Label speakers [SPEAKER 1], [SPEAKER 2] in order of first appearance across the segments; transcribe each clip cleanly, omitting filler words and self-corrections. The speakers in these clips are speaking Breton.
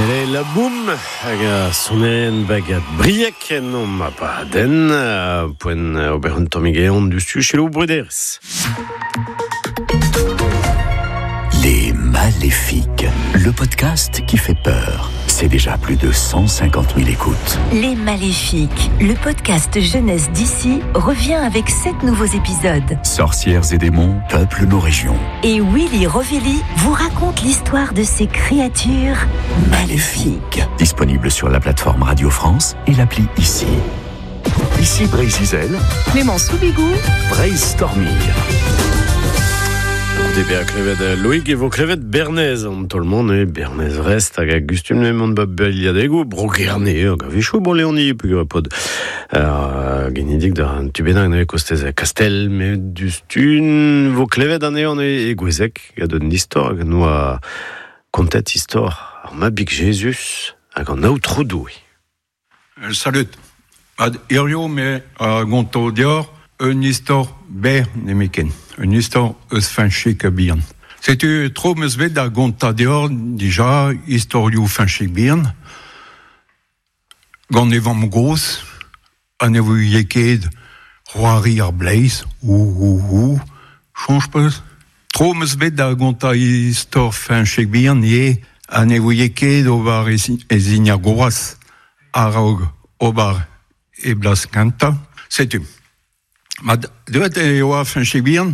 [SPEAKER 1] Sele la boum hag a sonerien bagad Brieg en om abadenn poent ober un tammig ehan dustu selaou bruderezh.
[SPEAKER 2] Les Maléfiques, le podcast qui fait peur. C'est déjà plus de 150 000 écoutes.
[SPEAKER 3] Les Maléfiques, le podcast jeunesse d'ici, revient avec 7 nouveaux épisodes.
[SPEAKER 2] Sorcières et démons peuplent nos régions.
[SPEAKER 3] Et Willy Rovelli vous raconte l'histoire de ces créatures
[SPEAKER 2] maléfiques. Disponible sur la plateforme Radio France et l'appli Ici. Ici Breizh-Izel,
[SPEAKER 4] Clément Soubigou,
[SPEAKER 2] Brainstorming.
[SPEAKER 1] Goude bezañ klevet Loïg e vo klevet Bernez an taol-mañ neuze Bernez Vrest hag a gustum neuze mont ba beilhadegoù Bro-Gerne hag a-wechoù Bro-Leoni peogwir e paotr ar genidik da un tu bennak neuze kostez Kastell met diouzhtu vo klevet anezhañ neuze e Gouezeg gant un istor hag noa kontet istor ar Mabig Jezuz hag an Aotrou Doue.
[SPEAKER 5] Salud. Ad hirio me a gonto deoc'h un istor berr nemetken, un istor eus Feñchig bihan. Setu tro 'm eus bet da gontañ deoc'h dija istorioù Feñchig bihan gant e vamm-gozh ha ne vouie ket c'hoari ar bleiz, ou ou ou, soñj 'peus? Tro 'm eus bet da gontañ istor Feñchig bihan ivez ha ne vouie ket ober e zign ar groaz a-raok ober e blas kentañ. Setu. Ma deuet e oa Feñchig bihan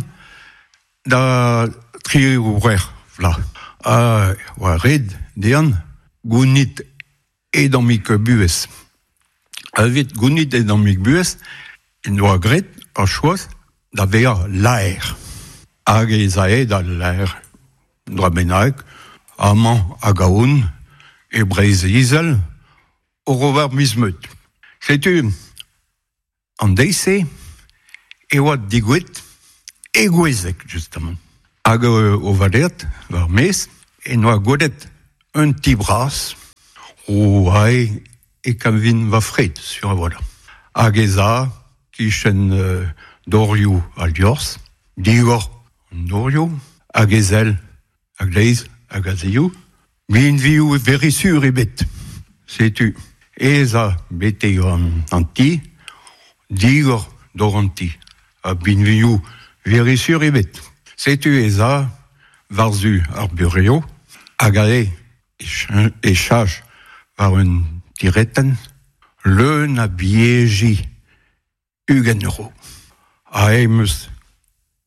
[SPEAKER 5] da triwec'h vloaz. Ha oa ret dezhañ gounit e dammig buhez. Evit gounit e dammig buhez en doa graet ar choaz da vezañ laer. Hag ez ae da laer un dra bennak amañ hag ahont e Breizh-Izel oc'h ober miz-meud. Setu an deiz-se e oa degouezhet e Gouezeg justement. Hag o valeat war maez en doa gwelet un ti bras o ae e kavin va fred sur a-walc'h. Hag ez a kichen dorioù al liorzh, digor an dorioù, hag e sell a-gleiz hag a-zehou. Binvioù verisur ebet. Setu ez a betek an ti, digor dor an ti, ha binvioù verisur ebet. Setu ez a war-zu ar burev hag aze e chach war un tiretenn leun a bieji 20 euro. Aze em eus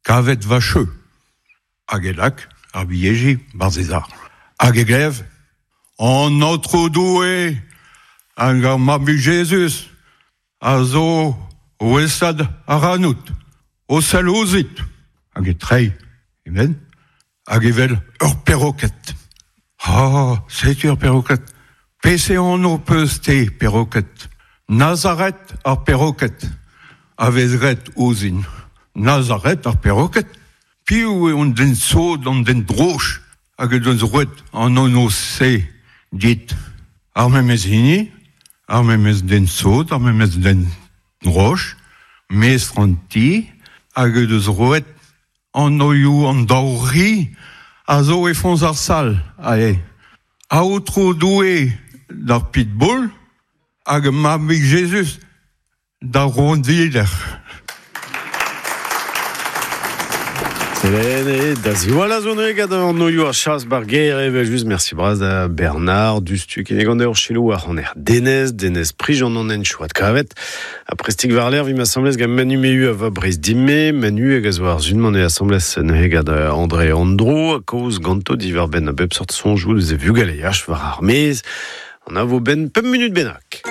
[SPEAKER 5] kavet va cheu. Hag e lak ar bilheji 'barzh e sac'h. Hag e glev An Aotrou Doue hag ar Mabig Jezuz a zo o esad ac'hanout, o sell ouzhit. Hag e treiñ e benn hag evel ur peroked. Ha setu ar peroked. Peseurt anv 'peus-te, peroked? Nazaret ar peroked a vez graet ouzhin. Nazaret ar peroked? Piv eo an den sot, an den droch hag en deus roet an anv-se dit? Ar memes hini, ar memes den sot, ar memes den droch, mestr an ti, hag en deus roet Anvioù an daou ri a zo e foñs ar sal aze. Aotrou Doue d'ar pitbull hag Mabig Jezuz d'ar rondiller.
[SPEAKER 1] Selene, da ziwall a zo neuze gant an oioù ar chas bar gêr evel-just. Merci bras da Bernard Dustu kinnig an ur selaou ar c'haner Denez, Denez Prijant an hent chouat kavet. Ha prestik war-lerc'h 'vimp asambles gant Manu Mehu a va Breizh Dime. Manu hag a zo ar sun-mañ eo asambles neuze gant André Andro ha kaoz ganto diwar-benn a bep seurt soñjoù deus e vugaleaj war ar maez. An a vo 'benn pemp munut bennak.